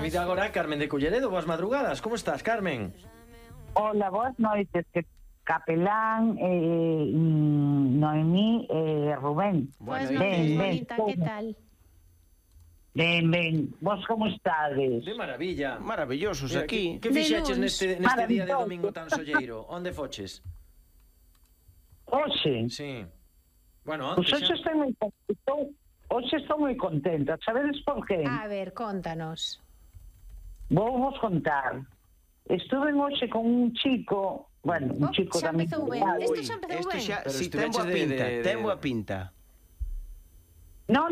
Saludamos agora a Carmen de Culleredo. Boas madrugadas, como estás, Carmen? Hola, boas noites, que Capelán, Noemí e Rubén. Boas noites, bonita, que tal? Ben, vos como estades? De maravilla. Maravillosos Mira, aquí. Que fixeches luns. neste día de domingo tan solleiro? Onde foches? Oxe, Sí. Bueno, pues onte xa. hoxe estou moi contenta, sabedes por qué? A ver, contanos. Vou vos contar. Estuve hoxe con un chico, bueno, un chico xa da mi empezou ben. idade. Isto xa empezou Isto ben. xa, Pero si ten estuveches boa pinta, ten boa pinta. No,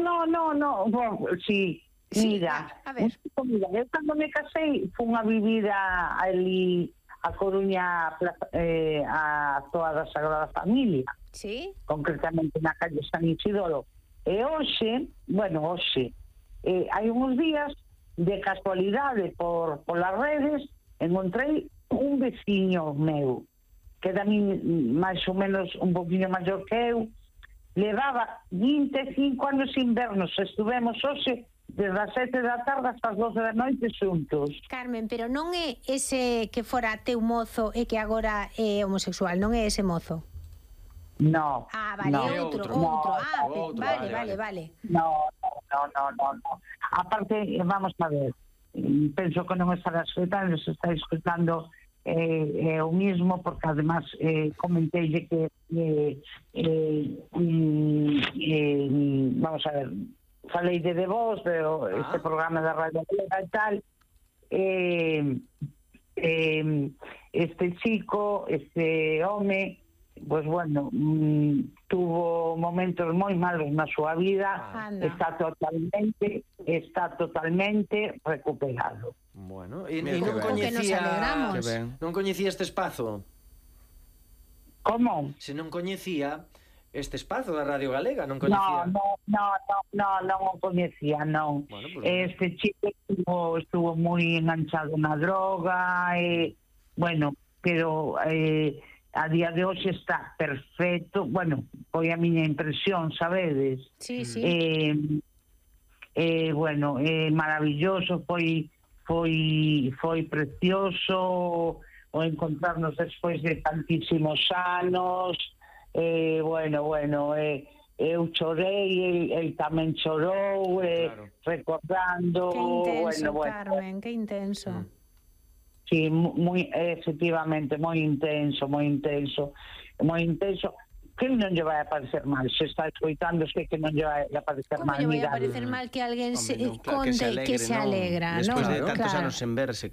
sí, Sí, mira, a ver. eu cando me casei fun a vivir ali a Coruña, a toda da Sagrada Familia, Sí? concretamente na calle San Isidoro. E hoxe, hai uns días, de casualidade polas redes, encontrei un veciño meu, que da min máis ou menos un poquinho maior que eu, levaba 25 anos invernos, estuvemos hoxe desde as 7 da tarde hasta as 12 da noite xuntos. Carmen, pero non é ese que fora teu mozo e que agora é homosexual, non é ese mozo? No. Ah, vale, no. é outro. No, Ah, outro, vale. No. Aparte, vamos a ver, penso que non estará escutando, se está escutando o mismo, porque además comenteille que vamos a ver, falei de vos, este programa da Radio Galega e tal, este chico, este home, pues bueno, tuvo momentos moi malos na súa vida, está totalmente recuperado. Bueno, e Mira, non que ben. Que nos alegramos. Que ben. Non coñecía este espazo. Como? Se non coñecía este espazo da Radio Galega, non No, coñecía. non o coñecía, non. Bueno, pues, Este chico estuvo moi enganchado na droga, bueno, pero a día de hoxe está perfecto. Bueno, foi a miña impresión, sabedes? Sí. Bueno, maravilloso, foi precioso o encontrarnos despois de tantísimos anos. Eu chorei, el tamén chorou, Claro. recordando. Que intenso, bueno. Carmen, que intenso. Sí, moi efectivamente, moi intenso. Que non lle vai a parecer mal, se está escoitando, sei que non lle vai a parecer Como mal. lle vai a Mira, parecer mal que alguén Hombre, non, claro, conte que se alegra, non? Despois de tantos Claro. anos sen verse,